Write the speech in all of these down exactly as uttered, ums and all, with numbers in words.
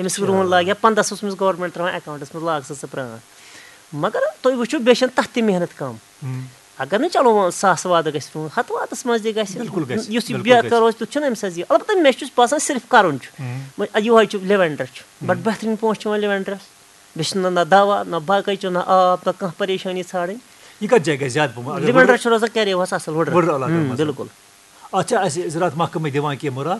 أمِس رُہُن لاگہِ ہا پنٛداہ ساس، أمِس گورمٮ۪نٛٹ ترٛاوان اٮ۪کاوُنٛٹَس منٛز، لاگ سا ژٕ پرٛان۔ مگر تُہۍ وٕچھِو، بیٚیہِ چھَنہٕ تَتھ تہِ محنت کَم۔ ہُم۔ اگر نہٕ، چلو، وۄنۍ ساس وادٕ گژھِ، ہَتھ وادَس منٛز تہِ گژھِ۔ بِلکُل گژھِ، یُس یہِ بِلکُل بے گژھِ۔ کار روزِ، تیُتھ چھُنہٕ أمِس اَسہِ یہِ۔ البتہ مےٚ چھُس باسان، صرف کَرُن چھُ۔ ہُم۔ وۄنۍ یِہوٚے چھُ لیونڈر چھُ۔ بَڑٕ ہُم۔ بہتریٖن پونٛسہٕ چھُ یِوان لیونڈرَس۔ بیٚیہِ چھُنہٕ نہ دَوا، نہ باقٕے چھُ، نہ آب، نہ کانٛہہ پریشٲنی ژھانٛڈٕنۍ۔ یہِ کَتھ جایہِ گژھِ زیادٕ پَہَم؟ اگر لیونڈرَس وٕڈرَس چھُ روزان کَرے وَس اَصٕل، وٕڈرَس۔ وٕڈرَس علاقَس ہُم، منٛز۔ بِلکُل۔ اَتھ چھا اَسہِ زِراعت محکمہٕ دِوان کینٛہہ مُراد؟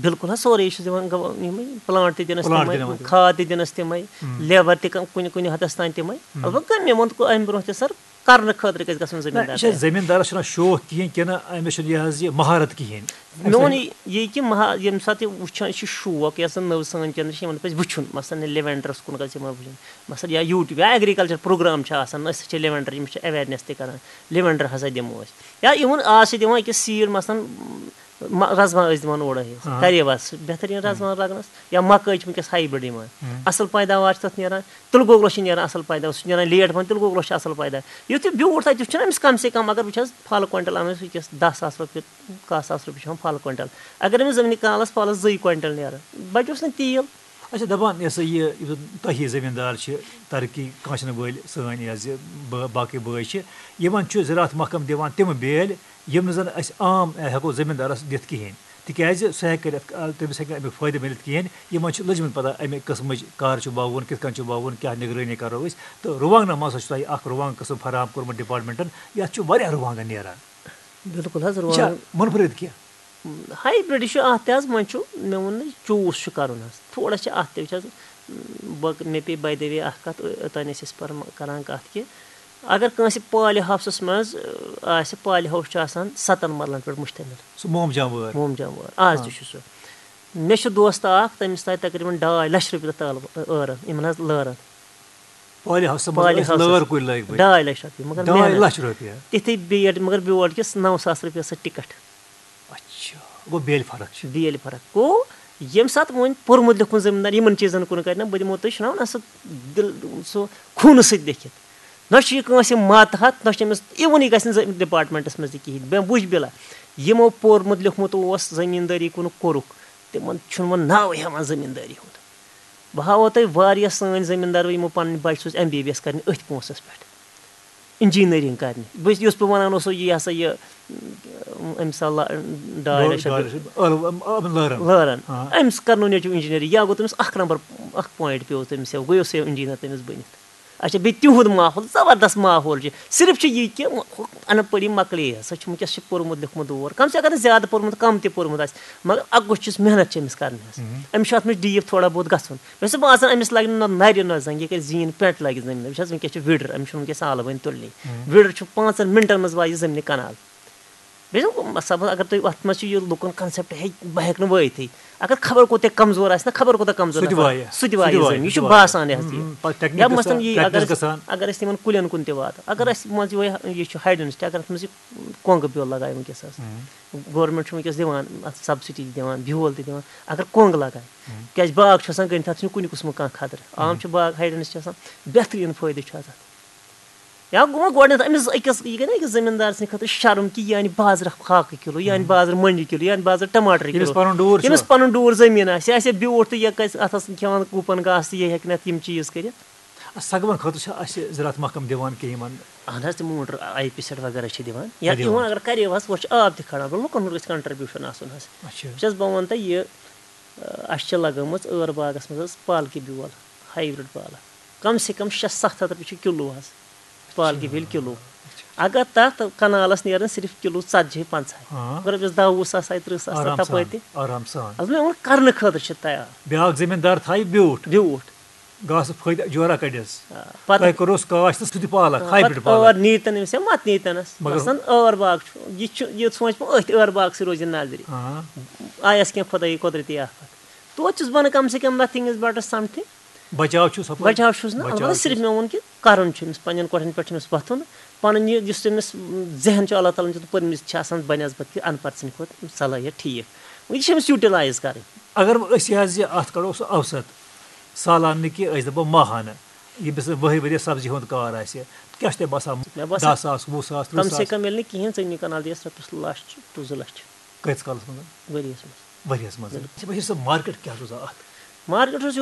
بِلکُل حظ، سورُے چھُ دِوان گو-، یِمَے پٕلانٛٹ تہِ دِنَس پٕلانٛٹ تِمَے، تہِ دِوان۔ کھاد تہِ دِنَس تِمَے، ہُم۔ لیبَر تہِ کَم-، کُنہِ، کُنہِ حدَس تام تِمَے۔ ہُم۔ البتہ مےٚ ووٚن کُ-، اَمہِ برونٛہہ تہِ سَر، کَرنہٕ خٲطرٕ گژھِ گژھُن نہ، زٔمیٖندار یہِ چھا تیار۔ زٔمیٖندارَس چھُنہ شوق کِہیٖنۍ کِنہٕ أمِس چھُنہٕ یہِ حظ یہِ مہارت کِہیٖنۍ؟ مےٚ ووٚن یہِ، یہِ کہِ مہا-، ییٚمہِ ساتہٕ یہِ وٕچھان چھِ شوق، یۄس زَن نٔو سٲنۍ generation، یِمَن پَزِ وٕچھُن، مثلاً، یہِ لیونڈرَس کُن گژھِ یِمَن وٕچھُن، مثلاً، یا YouTube یا agriculture program چھِ آسان، أسۍ چھِ لیونڈر، یِم چھِ awareness تہِ کَران، لیونڈر ہسا دِمو أسۍ۔ یا even آز چھِ دِوان أکِس seed، مثلاً، مَ-، رَزما ٲسۍ دِوان اورٕ حظ، آ۔ کَرے وَس، بہتریٖن رَزما لَگنَس، یا مَکٲے چھِ وٕنکیٚس hybrid یِوان، ہُم۔ اَصٕل پیداوار چھِ تَتھ نیران، تِلہٕ گۄگلَس چھِ نیران اَصٕل پیداوار، سُہ چھُ نیران late پَہَن، تِلہٕ گۄگلَس چھُ اَصٕل پیداوار۔ یُتھ یہِ بیوٗٹھ تَتہِ، یُتھ چھُنہ أمِس کَم سے کَم، اگر وٕچھ حظ، پھَل کویِنٹَل اَنو أسۍ وٕنکیٚس دَہ ساس رۄپیہِ، کاہ ساس رۄپیہِ چھِ ہٮ۪وان پھَل کویِنٹَل۔ اگر أمِس زٔمیٖنہِ کَنالَس پھَلَس زٕے کویِنٹَل نیران، بَچوس نہٕ تیٖل۔ اچھا، دَپان یہِ ہسا یہِ، یُس زَن تۄہہِ ہِوۍ زٔمیٖندار چھِ، ترقی کانٛہہ چھِنہٕ وٲلۍ سٲنۍ یہِ حظ یہِ با-، باقٕے بٲے چھِ، یِمَن چھُ زِراعت محکمہٕ دِوان تِم بیلۍ، یِم نہٕ زَن أسۍ عام ہٮ۪کو زٔمیٖندارَس دِتھ کِہیٖنۍ، تِکیٛازِ سُہ ہٮ۪کہِ کٔرِتھ، آ، تٔمِس ہٮ۪کہِ نہٕ اَمیُک فٲیدٕ مِلِتھ کِہیٖنۍ۔ یِمَن چھِ لٔجمٕژ پَتہ اَمہِ قٕسمٕچ کَر چھُ وَوُن، کِتھ کٔنۍ چھُ وَوُن، کیٛاہ نِگرٲنی کَرو أسۍ۔ تہٕ رُوانٛگنَس منٛز ہسا چھُ تۄہہِ اَکھ رُوانٛگ قٕسٕم فراہم کوٚرمُت department-ن، یَتھ چھُ واریاہ رُوانٛگَن نیران۔ بِلکُل حظ، یہِ چھا رُوانٛگَن۔ مُنفرد کینٛہہ؟ Hybrid چھُ اَتھ تہِ حظ، وۄنۍ چھُ، مےٚ ووٚن نہٕ، choose چھُ کَرُن حظ۔ تھوڑا چھِ اَتھ تہِ، وٕچھ حظ، بہٕ، مےٚ پیٚیہِ by the way اَکھ کَتھ، اوٚتام ٲسۍ أسۍ پَران، کَران کَتھ کہِ اگر کٲنٛسہِ poly house-س منٛز، آسہِ، poly house چھُ آسان سَتَن مَرلَن پٮ۪ٹھ مُشتمِل۔ سُہ مومجام وٲر۔ مومجام وٲر۔ آز آ۔ تہِ چھُ سُہ۔ مےٚ چھُ دوستہٕ اَکھ، تٔمِس تھایہِ تقریٖباً ڈاے لَچھ رۄپیہِ تَتھ تالہٕ ٲرَن، یِمَن حظ لٲرَن۔ Poly house-س منٛز poly ٲسۍ house-س۔ لٲر کُلۍ لٲگۍ مٕتۍ۔ ڈاے لَچھ رۄپیہِ، مگر ڈاے محنت۔ لَچھ رۄپیہِ۔ تِتھٕے بیٹ، مگر بیول کِس نَو ساس رۄپیہِ ٲس سۄ ٹِکَٹ۔ اچھا، گوٚو بیلہِ فرق چھِ۔ بیلہِ فرق گوٚو، ییٚمہِ ساتہٕ وۄنۍ پوٚرمُت لیوٚکھمُت زٔمیٖندار یِمَن چیٖزَن کُن کَرِ نہ، بہٕ دِمو تۄہہِ، چھُنہ وَنان، سُہ دِل، سُہ خوٗنہٕ سۭتۍ لیکھِتھ۔ نہ چھُ یہِ کٲنٛسہِ ماتحت، نہ چھُ أمِس even یہِ گژھِ نہٕ زٔمیٖن department-س منٛز تہِ کِہیٖنۍ۔ مےٚ وٕچھ بِلا، یِمو پوٚرمُت لیوٚکھمُت اوس، زٔمیٖندٲری کُنُک کوٚرُکھ، تِمَن چھُنہٕ وۄنۍ ناوٕے ہٮ۪وان زٔمیٖندٲری ہُنٛد۔ بہٕ ہاوو تۄہہِ واریاہ سٲنۍ زٔمیٖندار، یِمو پَنٕنۍ بَچہِ سوٗزۍ M B B S کَرنہِ أتھۍ پونٛسَس پٮ۪ٹھ، engineering کَرنہِ۔ بہٕ یُس بہٕ وَنان اوسو، یہِ ہسا یہِ، أمۍ سا لا-، ڈاے ڈاے لَچھ رۄپیہِ۔ لَچھ رۄپیہِ۔ آ، آ، آ، لٲرَن۔ لٲرَن۔ آ۔ أمِس کَرنو نیٚچوٗ engineering، یا گوٚو تٔمِس اَکھ نمبر، اَکھ point پیوٚو تٔمِس، یا گوٚو سُہ engineer تٔمِس بٔنِتھ۔ اچھا، بیٚیہِ تِہُنٛد ماحول، زبردست ماحول چھُ۔ صرف چھُ یہِ کہِ ان پڑھی مۄکلے حظ، سۄ چھِ وٕنکیٚس چھِ پوٚرمُت لیوٚکھمُت دور۔ کم سے کم، اگر نہٕ زیادٕ پوٚرمُت، کم تہِ پوٚرمُت آسہِ، مگر اَکھ گوٚژھ چھُس محنت چھِ أمِس کَرنہِ حظ۔ مہم۔ أمِس چھُ اَتھ منٛز deep تھوڑا بہت گژھُن۔ مےٚ چھُ باسان، أمِس لَگہِ نہٕ نہ نَرِ نہ زنٛگہِ، یہِ کَرِ زیٖن پٮ۪نٛٹ لَگہِ زٔمیٖنَس۔ وٕچھ حظ، وٕنکیٚس چھُ وِڈٕر، أمِس چھُنہٕ وٕنکیٚس آلہٕ وۄنۍ تُلنٕے۔ مہم۔ وِڈٕر چھُ پانٛژَن مِنٹَن منٛز وایہِ یہِ زٔمیٖنہِ کَنال۔ بیٚیہِ چھُ مطلب، اگر تُہۍ اَتھ منٛز چھُ یہِ لُکَن concept ہے، بہٕ ہٮ۪کہٕ نہٕ وٲیتھٕے۔ اگر خبر کوٗتاہ کمزور آسہِ نہ، خبر کوٗتاہ کمزور سُہ تہِ نفر، وایہِ، سُہ تہِ سُہ وایہِ تہِ وایہِ، زٔمیٖن۔ یہِ سُہ چھُ تہِ وایہِ۔ باسان یہِ حظ ہُم، یہِ۔ ہُم، پَتہٕ technique یا گژھان، مثلاً یہِ practice اگر أسۍ، گژھان۔ اگر أسۍ تِمَن کُلٮ۪ن کُن تہِ واتو، اگر اَسہِ منٛز یِہوٚے یہِ چھُ hydrenist، اگر اَتھ منٛز یہِ کۄنٛگ بیول لگایہِ وٕنکیٚس حظ۔ ہُم۔ Government چھُ وٕنکیٚس دِوان اَتھ subsidy، دِوان بیول تہِ دِوان، اگر کۄنٛگ لگایہِ، ہُم۔ کیٛازِ باغ چھُ آسان گٔنٛڈِتھ، اَتھ چھُنہٕ کُنہِ قٕسمُک کانٛہہ خطرٕ۔ عام ہُم۔ چھُ باغ hydrenist آسان، بہتریٖن فٲیدٕ چھُ اَتھ۔ یا گوٚو وۄنۍ گۄڈٕنٮ۪تھ أمِس أکِس، یہِ گٔے نہ أکِس زٔمیٖندار سٕنٛدِ خٲطرٕ شرم کہِ یہِ اَنہِ بازرٕ ہاکہٕ کِلوٗ، یہِ اَنہِ ہُم۔ بازرٕ مۄنٛجہِ کِلوٗ، یہِ اَنہِ بازرٕ ٹماٹر ییٚمِس کِلوٗ۔ پَنُن ڈوٗر چھُ۔ ییٚمِس پَنُن ڈوٗر زٔمیٖن آسہِ، یہِ آسہِ بیوٗٹھ تہٕ یہِ کَتہِ اَتھَس کھٮ۪وان گُپَن گاسہٕ تہٕ یہِ ہیٚکہِ نہٕ اَتھ یِم چیٖز کٔرِتھ۔ سَگوَن خٲطرٕ چھا اَسہِ زِراعت محکمہٕ دِوان کینٛہہ یِمَن؟ اَہَن حظ، تِم موٹر آی پی سیٹ وغیرہ چھِ دِوان۔ یا کَتہِ دِوان؟ یِوان اگر کَرے وَس، ہورٕ چھُ آب تہِ کھاران، لُکَن ہُنٛد گژھِ contribution آسُن حظ۔ اچھا۔ وٕچھ حظ، بہٕ وَنہٕ تۄہہِ یہِ، اَسہِ چھِ لَگٲمٕژ ٲر باغَس منٛز حظ پالکہِ بیول، hybrid پالک۔ کم سے کم شےٚ ستھ ہَتھ رۄپیہِ چھُ کِلوٗ حظ، پالکہِ بیول کِلوٗ۔ اچھا۔ اگر تَتھ کَنالَس نیرَن صرف کِلوٗ ژتجی پنٛژاہ، ہاں۔ اگر رۄپیَس دَہ وُہ ساس آیہِ، تٕرٛہ ساس آیہِ آرام سان، تَپٲرۍ تہِ۔ آرام سان۔ اَصل مےٚ ووٚن، کَرنہٕ خٲطرٕ چھِ تیار۔ بیٛاکھ زٔمیٖندار تھایہِ بیوٗٹھ۔ بیوٗٹھ۔ گاسہٕ فٲیدٕ جورا کَڑٮ۪س۔ آ، پَتہٕ تۄہہِ کوٚروُس کاش تہٕ سُہ تہِ پالک، آ، hybrid پَتہٕ پالک۔ ٲر نیٖتَن أمِس یا مَتہٕ نیٖتَنَس۔ مگر مثلاً ٲر باغ چھُ، یہِ چھُ، یہِ سونٛچ مےٚ أتھۍ ٲر باغسٕے روزِ نظرِ۔ ہاں۔ آیَس کینٛہہ خۄدٲیی قۄدرٔتی آفت۔ توتہِ چھُس بہٕ وَنان، کم سے کم nothing is better something۔ بچاو چھُس ہُپٲرۍ۔ بچاو چھُس نہ، بچاو البتہ صرف چھُس۔ مےٚ ووٚن کہِ کَرُن چھُ أمِس، پنٛنٮ۪ن کۄٹھٮ۪ن پٮ۪ٹھ چھُ أمِس وۄتھُن۔ پَنُن یہِ یُس أمِس ذہن چھُ اللہ تعالیٰ ہَن دیُتمُت، پٔرمٕژ چھِ آسان بنسبت کہِ اَن پَڑھ سٕنٛدِ کھۄتہٕ صلٲحیت ٹھیٖک۔ وۄنۍ یہِ چھِ أمِس utilize کَرٕنۍ۔ اگر وۄنۍ أسۍ یہِ حظ یہِ اَتھ کَڑو سُہ اوسط، سالانہٕ نہٕ کینٛہہ، أسۍ دَپو ماہانہٕ، ییٚمِس وۄنۍ ؤری ؤریَس سبزی ہُنٛد کار آسہِ، کیٛاہ چھُ تۄہہِ باسان؟ مےٚ باسان، دَہ ساس، وُہ ساس، تٕرٛہ ساس؟ کم سے کم ییٚلہِ نہٕ کِہیٖنۍ، ژٕ أنِو کَنال دِیَس رۄپیَس لَچھ ٹُو زٕ لَچھ۔ کٔژ کالَس منٛز؟ ؤریَس منٛز۔ ؤریَس منٛز۔ بِلکُل۔ اچھا، وۄنۍ چھِ سُہ market کیٛاہ روزان اَتھ؟ Market چھُس یِہُس